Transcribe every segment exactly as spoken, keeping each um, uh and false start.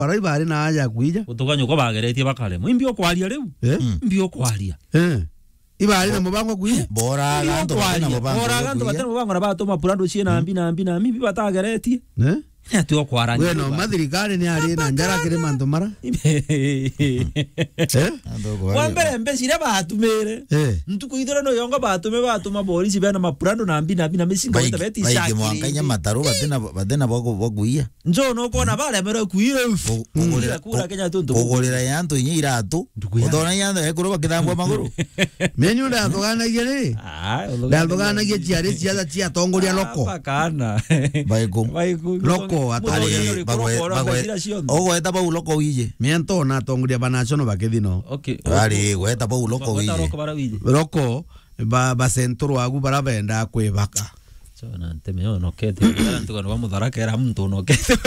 Bara ibari na aja kuija. Gutukanywa kwa bageretie bakaremwa. Imbi okwaria riu? Eh? Mm. Imbi okwaria? Eh. Ibari na mubango kuija? Boraga antu bati na mubango. Boraga antu bati na mubango na batuma purando cie na mbi na mbi na mbi batageretie. Eh? Ni ati okwarangia. We no, mathirikari ni ari na njara kiri mantu mara. Eh? Antu kwa- Wa mbere mbeca iria batumire. Eh. Ntuku ithire no yongo batume batuma borisi bena mapurando na mbi na mbi na micinga. Baiki- beta beti baiki shakiri. Mwanka inya mataru bati na, bati na bwa ku-, bwa kuiya. Njo no kona baremerwe kuira. Ku-, kugurira, kura Kenya tu ntu kugurira ya antu inya iratu. Ndugu ya. Utona ya antu ekuru bakithambwa maguru. Menyu ndathuganagia ri? Ah, ndathuganagia ciari ciatha cia atongoria loko. Apa kana. Baiku. Baiku. Loko atari bagwe, bagwe. Ogweta bau loko wije. Miento na atongoria ba national bakithino. Okay. Ari gweta bau loko wije. Loko bara wije. Loko ba, ba central agu bara benda kwibaka. So, na nteme yo nokete. Ara ntuko no mutharakera muntu nokete.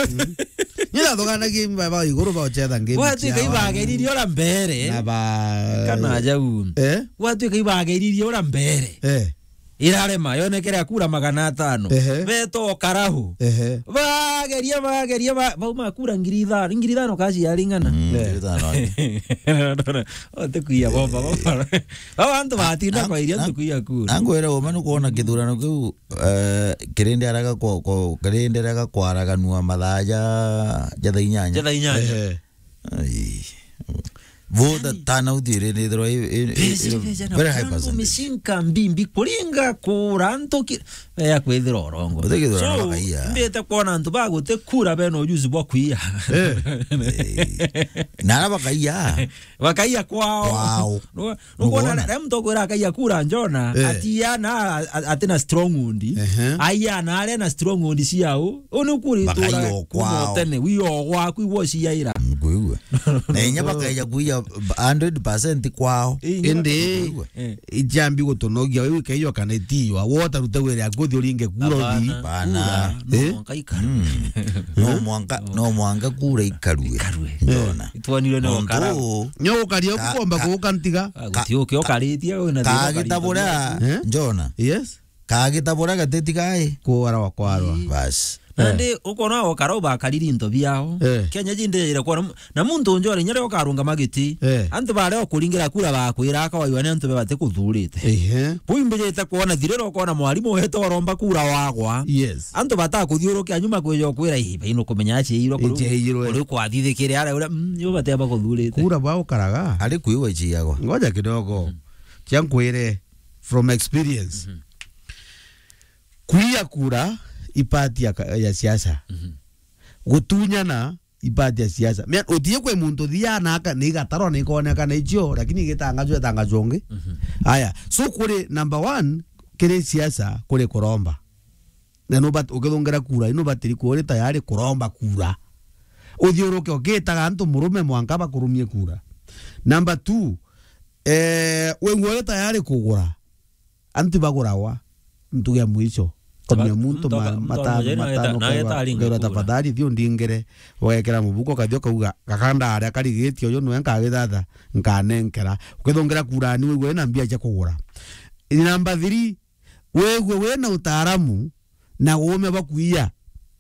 Ni ndathuganagia imba ba iguru ba ochetha ngimi. Watuika ibageririe ora mbere. Na ba kana jau. Eh? Watuika ibageririe ora mbere. Eh. Irarema yonekere akura magana atano. Ehe. Beto karahu. Ehe. Bageria, bageria, ba-, bauma kura ngiri ithano. Ngiri ithano kaci yaringana. Mm, eh. Ngiri ithano. Ote kuiya bomba, bomba. Baba antu batinda kwa iria ntuku ya kura. Angwira uma nukwona kithurano kiu, eh, kirindi araga kwa, kwa, kirindi araga kwaraganua mathaa ja, ja thaa inyanya. Ja thaa inyanya. Ehe. Ai. Voter turnout iri nithirwa i, i, i, very high percentage. Mishinka mbimbi kuringa kura antu ki, ya kwithira orongo. Uthikithira na bakaiya. Mbite kwona antu baguti kura bena ujuzi bwa kuiya. Eh. Eh. Na ara bakaiya. Bakaiya kwao. Kwao. Nukwona, nukwona? Rem tokwira akaiya kura Njona, eh, atiana a-, a-, atina stronghold. Ehe. Aiana aria na stronghold ciao. Uni ukuri bakaiya tura kwao. Kuma tene, wiyo gwaku igwo ciaira. Nkwigua. Na inya bakaija kuiya hundred percent kwao. Indi, nkwigua. Eh. Ijambi gutunogia, we wikaiyo kana itiywa. Wotarute wira yaku uthi uringe kura uthi. Hapana. Bana. Kura, no mwanka ikarue. Mm. No mwanka, no mwanka kura ikarue. Ikarue. Ndona. Itwanirwe ni ukara. Nyo ukaria ka-, ukomba ka-, kuuka ntiga. Ah, guti uki ukaritie, wina thina kagita ukaritie. Buria, eh? Njona. Yes. Kagita buria gateti gai. Kwarwa, kwarwa. Ii. Bas. Nandi, eh, ukona ukara ubakariri into biao. Eh. Kenya jinde ire kwona mu-, na muntu unjore nyere ukarungama giti. Eh. Antu baria ukuringira kura bakwira akawaiwa ni antu bebate kuthurite. Ehe. Bui mbijite kwona thirira ukona mwarimu wete uromba kura wagwa. Yes. Antu batakuthiurukia nyuma kwija ukwira, "Ii, baino kumenya aciirwe kuri, aciirwe kuri kwathithikire aria uria, mm, yo bateba kuthurite." Kura bwa ukaraga. Ari kwiwa iciagwa. Ngoja kidogo. Mm. Cia nkwire from experience. Mhm. Kuiya kura i party ya ka-, ya siasa. Mhm. Gutunyana i party ya siasa. Mea, utie kwi muntu thiana aka, ni igatarwa ni ikoneka na icio, lakini igitangazwa itangazwa ungi. Mhm. Aya, so kuri number one, kiri siasa, kuri kuromba. Na nubat-, ukithungira kura, nubatiri kuuri tayari kuromba kura. Uthiuruke ugitaga antu murume mwanka bakurumie kura. Number two, eh, wigua uri tayari kugura. Antu baguragwa, ntuge ya mwisho. Taba-, kumia muntu mtoka-, ma-, mtoka matano, moja ina matano, neta-, na ukaigua, eta aringa ukaigua kura. Tafadhali, thio ndingire, ugekira mubuko, ukathio ukauga, "Gakanda aria karigitio, uyu niwe nkagithatha, nkanenkera." Ukithungira kura ni wigua wina mbia cia kugura. Number three, wigua wina utaaramu, na uume bwa kuiya.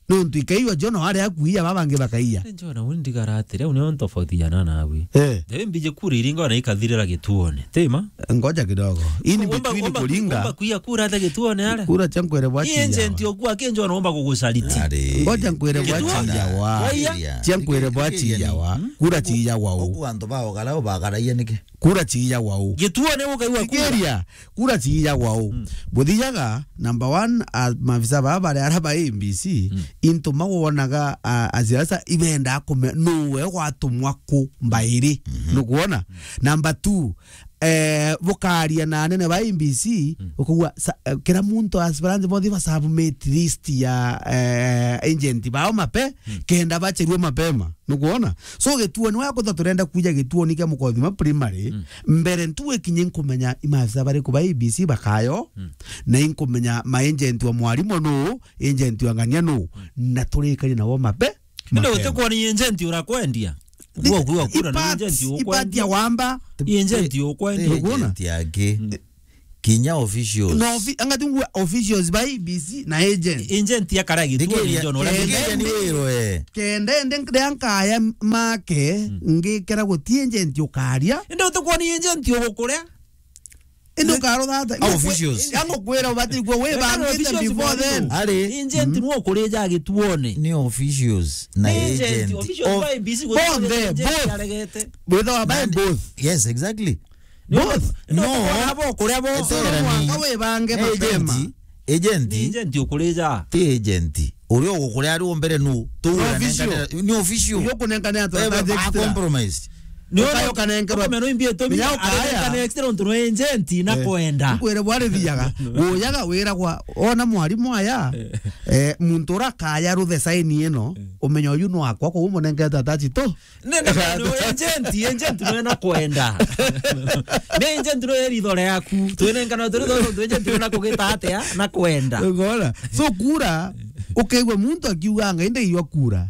Nontu ikaiwa Jona wari akuiya, baba bangi bakaiya. Ni Jona, uni ndigara atiri, au nio ntofauti jana nawe. Eh. Ndewe mbije kura iringa na ikathirira gituone. Tema? Ngoja kidogo. In between kuringa. Womba kuiya kura ata gituone are? Kura cia nkwere bwa chiyawa. Agent oku aki Jona womba kugucariti. Ari. Ngoja nkwere bwa chiyawa. Waiya? Cia nkwere bwa chiyawa. Hmm? Kura chiyawa u. Oku antu bao garau bagaraia niki? Kura chiiyagwa u? Gituone ukaigua kura. Thikiria, kura chiiyagwa u? Mm. Buthiaga, number one, a, maafisa baa bari ara ba A B C, mm, into mawonaga, a, a siasa ibendaa kumenya nuwe gwatumwa ku mbairi. Mhm. Nukwona? Number two, eh, bukaria na anene ba A B C, mm, ukauga, sa-, eh, kira muntu aspirant bonthe ba submit list ya, eh, agent bao mape, mm, kenda bacherue mapema. Nukwona? So, gituoni wa kutha turenda kuja gituoni kia Mukothima primary, mm, mbere ntu ikinye nkumenya i maafisa bariku ba A B C bakayo, mm, na inkumenya ma agent wa mwarimu nu, agent wa ng'ania nu, mm, na turikari nabo mape. Indi mapema. Uti kwona agent urakwendia? Ni-, uguo kwiwa kura ni ipat-, agent ukwendia. Ipatia wamba. Agent ukwendia. Nukwona? Agent yake. Mm. Kinya officials. No, offi-, anga tu ngua officials ba A B C na agent. Agent akara gituone. Ndigeria, njo no ndigeria ni wiro, eh. Kenda ende ria nkaya make, ngikira guti agent ukaria. Indi utukwona agent ugukuria. Indi ukarutha ata? Au officials. Ango kwira ubati kwa we bangite officials before then. Ari. Agent nuo kurija gituone. Ni officials na agent. Officials ba A B C both. Both. Withawa by both. Yes, exactly. Both. No. Abo kuria bo. Eterani. Mwaka we bange mapema. Agent. Agent. Ni agent ukurija. Ti agent. Uria ugukuria ari o mbere nu? Tu ni official. Ni official. Uria ukunengane atu. Eh, ba compromised. Ni ukayo kanenkerwa. Ukamenya no imbi itumi. Menya ukaya. Arekane extra untu no agent na kwenda. Nkwire bwari thiaga. Uyaga wira kwa ona mwarimu aya. Eh, muntu urakaya ruthe saini ino. Umenya uyu no akwa kwa umunengete atati tu. Ne, ne, ne, no, agent, agent no na kwenda. Ne agent no eritho riaku. Twinengana turi tho, tu agent no na kugita atia, na kwenda. Ukaona? So kura, ukaigua muntu akiuga, "Ngai ndaiywa kura."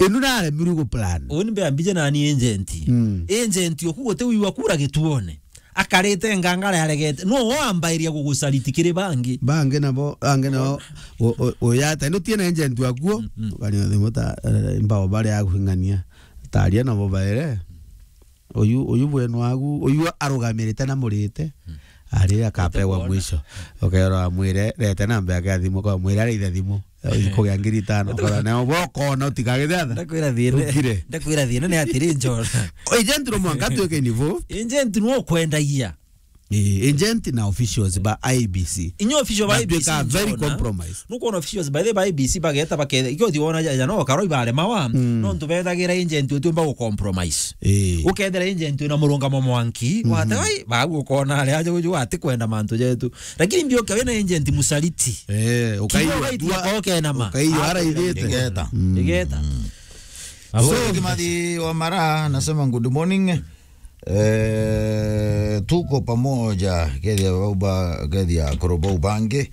Inu naremirwe gu plan. Uni mbe ambije nani agent. Mm. Agent oku guti wiwa kura gituone. Akarite ngangara yaregete. No wambairia gugucariti kiri bangi. Bangi nabo, angi nabo, u-, u-, uyata. Ino tiena agent wakuo. Mm, mm. Ukania thimu ta, eh, mbao baria aguhingania. Taria nabo baere. Uyu, uyu bwenu wagu, uyu arugamirite na murite. Mm. Ari akapegwa mwisho. Ukerwa amwire, rete namba yake ya thimu, kwa mwire ari ithe thimu. Ikugia ngiri itano, kora nao bokona utikagithe atha. Ndakwira thina. Ukire. Ndakwira thina ni atiri njora. Agent no mwanka tuike involved. Agent no kwendagia. Eh, agent na officials ba I B C. Inyo official ba I B C very compromised. Nukwona officials by the by I B C bageta baketha. Ikio ti wona ja, ja no karo ibaremawa. Mm. No ntu bethagira agent utiumba gu compromise. Eh. Ukethira agent na murungamo mwanki, wate, ai, bagu ukona ari aje uju ati kwenda mantu jetu. Lakini mbio kawe na agent musaliti. Eh, ukaiyo. Kiugo gaitia kwa ukenama. Ukaiyo ara igete. Igeta. Mm. Igeta. Mm. Abo. So, Kimathi wa Mara anasema, "Good morning. Eh, tuko pamoja." Kethia bauba, kethia korobo ubange.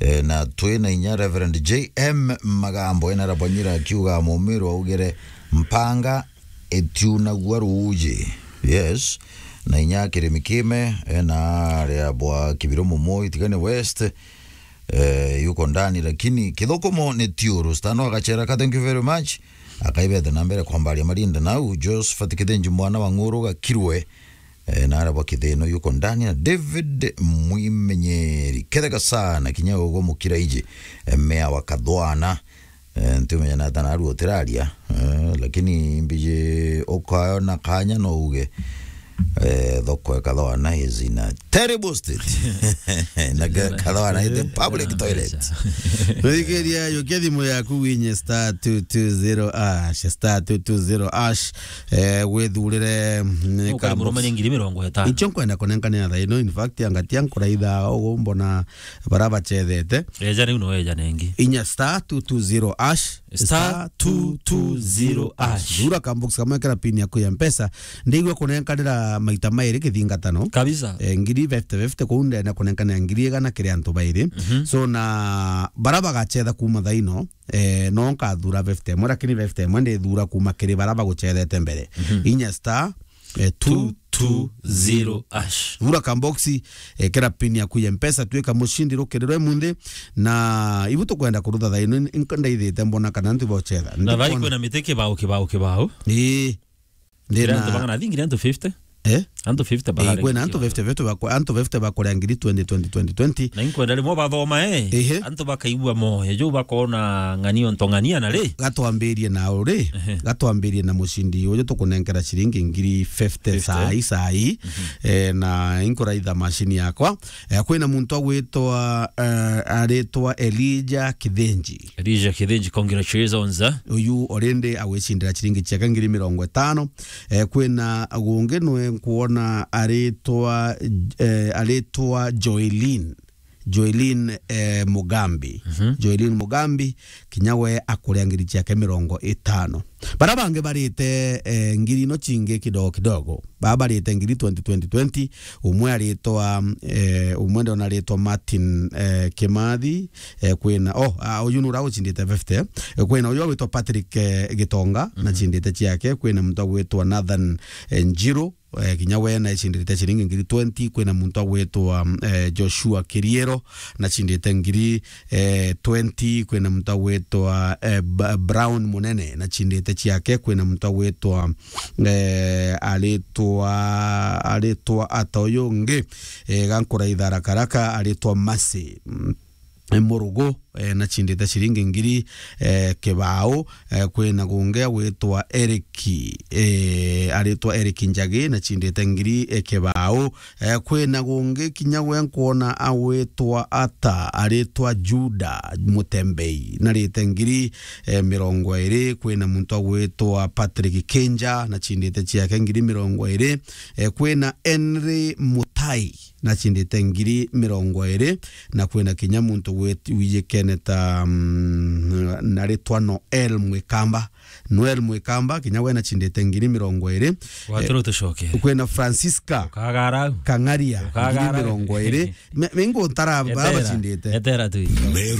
Eh, na twina inya Reverend J M Magambo, ena Rabanyira akiuga, "Mumiru augire, mpanga itiunagua ruuji." Yes. Na inya Kirimi Kime, ena aria bwa Kibiro Mumo, Itigane West, eh, yuko ndani, lakini kithukumo ni tiuru. Stano Agachera ka, thank you very much. Akaibete na mbere kwambaria marinda nau. Josephat Kithenji mwana wa Ng'uru Gakirwe, eh, na aria bwa Kithino yuko ndani, na David Mwimenyeri. Ketheka sana kinya ugo Mukiraiji, eh, mea wa Kathwana. Eh, ntiumenya na tana aru utiraria, eh, lakini mbiji ukayona kanya no uge, eh, thoko ya Kathwana is in a terrible state. Na Kathwana is the public toilet. Rigeria yukia thimu yaku winye star two two zero hash, star two two zero hash, eh, withurire, mm, ukari murumanye ngiri mirongo itano. Icho nkwenda kunenkanira thaa ino, in fact, angatia nkuraitha ugu mbona bara bachethete. Eja riu no eja nengi. Inya star two two zero hash. Star two two zero hash. Thura kambox kamwe kera pin yaku ya Mpesa. Ndigwe kunenkanira maita mairi kithingatano. Kabisa. Eh, ngiri fifty fifty kuu ndene kunenkanira ngiri igana kiri antu bairi. Mhm. So na bara bagachetha kuma thaa ino, eh, no nkathura fifty imwe, lakini fifty imwe ndithura kuma kiri bara baguchethete mbere. Mhm. Inya star, eh, two two zero hash. Thura kamboxi, eh, kera pin yaku ya Mpesa, twika mushindi rukirirwe munthi, na ibu tukwenda kurutha thaa ino, nk-, ndaithite mbona kana ntu bochetha. Na thaa ii kwina miti kibao, kibao, kibao. Ii. Ndina antu bang'ana, I think antu fifty. Eh? Antu fifty. Eh, bararenga kwina antu kibao. Fifty, fifty bako-, antu fifty bakuria ngiri twenty, twenty, twenty, twenty. Na inkwenda rimwe bathoma, eh. Ehe. Antu bakaigua moyo, juu bakona ng'ania onto ng'ania na ri. Gatwambirie na uri, ehe, gatwambirie na mushindi uyu tukunenkera ciringi ngiri fifty. Fifty. Saa ii, saa ii. Mhm. Eh, na inkuraitha mashini yakwa. Eh, kwina muntu agwitwa, eh, aritwa Elijah Kithenji. Elijah Kithenji, congratulations, eh. Uyu already agwicindira ciringi ciake ngiri mirongo itano. Eh, kwina gungi nwe nkuona aritwa, eh, aritwa Joelin. Joelin, eh, Mugambi. Mhm. Joelin Mugambi, kinya we akuria ngiri ciake mirongo itano. Bara bangi barite, eh, ngiri ino cingi kidogo kidogo. Baba barite ngiri twenty, twenty, twenty. Umwe aritwa, eh, umwe ndona aritwa Martin, eh, Kimathi, eh, kwina, oh, ah, uyu nura ucindite fifty. Eh, kwina uyu agwitwa Patrick, eh, Gitonga, mhm, na cindite ciake. Kwina muntu agwitwa Nathan, eh, Njiru, eh, kinya we na icindite ciringi ngiri twenty. Kwina muntu agwitwa, eh, Joshua Kiriero, na cindite ngiri, eh, twenty. Kwina muntu agwitwa, eh, Ba-, Brown Munene, na cindite ciake. Kwina muntu agwitwa, eh, aritwa, aritwa ata uyu ungi, eh, gankuraitha rakaraka, aritwa Mercy. Mm. Murugu, eh, na cindite ciringi ngiri, eh, kibao. Eh, kwina gungi agwitwa Eric, eh, aritwa Eric Njagi, na cindite ngiri, eh, kibao. Eh, kwina gungi kinya we nkwona agwitwa ata, aritwa Juda Mutembei, na rite ngiri, eh, mirongo iri. Kwina muntu agwitwa Patrick Kinja, na cindite ciake ngiri mirongo iri. Eh, kwina Henry Mutai, na cindite ngiri mirongo iri, na kwina kinya muntu wit-, wijikene ta, mm, na ritwa Noel Mwikamba. Noel Mwikamba, kinya we na cindite ngiri mirongo iri. Waturu tucoke. Kwina Francisca Ukagara au. Kang'aria, Ukagara ngiri au. Mirongo iri. Me-, mengo ntara Etera. Baba cindite. Etera tu. Meru